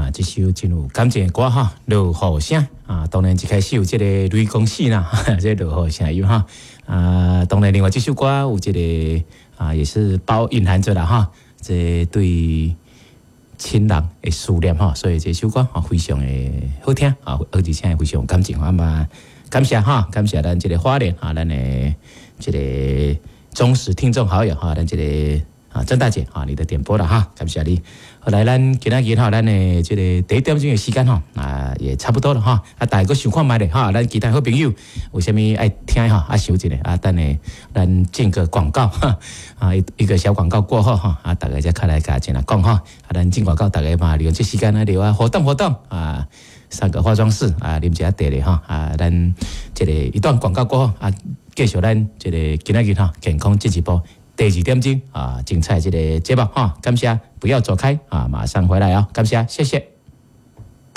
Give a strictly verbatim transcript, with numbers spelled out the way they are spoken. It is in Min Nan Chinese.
啊，這首真有感情的歌哈，落雨聲啊，當然一開始有這個雷公戲啦，這個落雨聲音哈啊，當然另外這首歌有這個啊，也是包隱含著啦哈，這對親人的思念哈，所以這首歌啊非常的好聽啊，而且非常有感情啊嘛，感謝哈，感謝咱這個花蓮啊，咱的這個忠實聽眾好友哈，咱這個啊曾大姐啊，你的點播啦哈，感謝你。後來咱今仔日哈，咱的這個第一點鐘的時間吼啊，也差不多了哈。啊，大家閣想看覓咧哈，咱其他好朋友有啥物愛聽哈，啊，想一下啊，等下咱進個廣告哈，啊一一個小廣告過後哈，啊，大家再較來共前來講哈。啊，咱進廣告，大家嘛利用這時間來留啊活動活動啊，上個化妝室啊，啉一下茶咧哈。啊，咱這個一段廣告過後啊，繼續咱這個今仔日哈健康進一步。第二點鐘啊，精彩這個節目哈，感謝，不要走開啊，馬上回來哦，感謝，謝謝。